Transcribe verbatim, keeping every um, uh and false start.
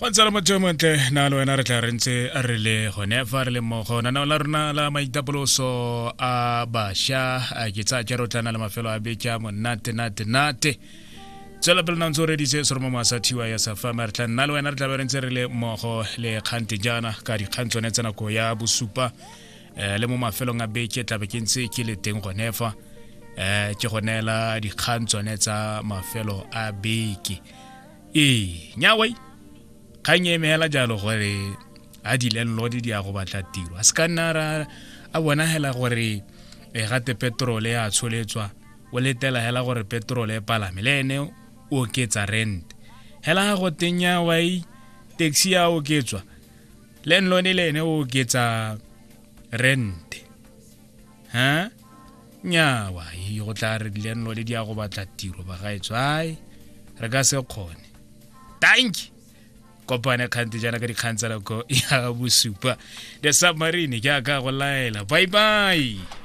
Go ntse le motho yo montle na le wena re tla re ntse re le gone fa re le mmogo nanao la rona la maitapoloso a bašwa a ke tsaya jaro tla na le mafelo a beke a monate nate nate. Tswela pele na ntse o reditse seromo sa thiwa ya safama, re tla nna le wena re tla be re ntse re le mmogo le kgante jaana ka dikgang tsone tsa nako ya bosupa, um le mo mafelong a beke tla be ke ntse ke le teng gone fa, um ke go neela dikgang tsone tsa mafelo a beke. Ee, nyawai kgang e emela jalo gore a di-landlord di ya go batla tiro, a se ka nna ra a bona hela gore e gate petrol ya tsholetswa, o letela hela gore petrol e palame le ene o oketsa rent hela ga go teng ya wai taxi ya oketswa, landlord le ene o oketsa rent. Ha nyawa e go tla re di-landlord di ya go batla tiro bagaetsho, ai re ka se kgone. Thank you. Kopane kgante jaana ka dikgang tsa nako ya bosupa. The Submarine ke a ka go laela. Bye bye.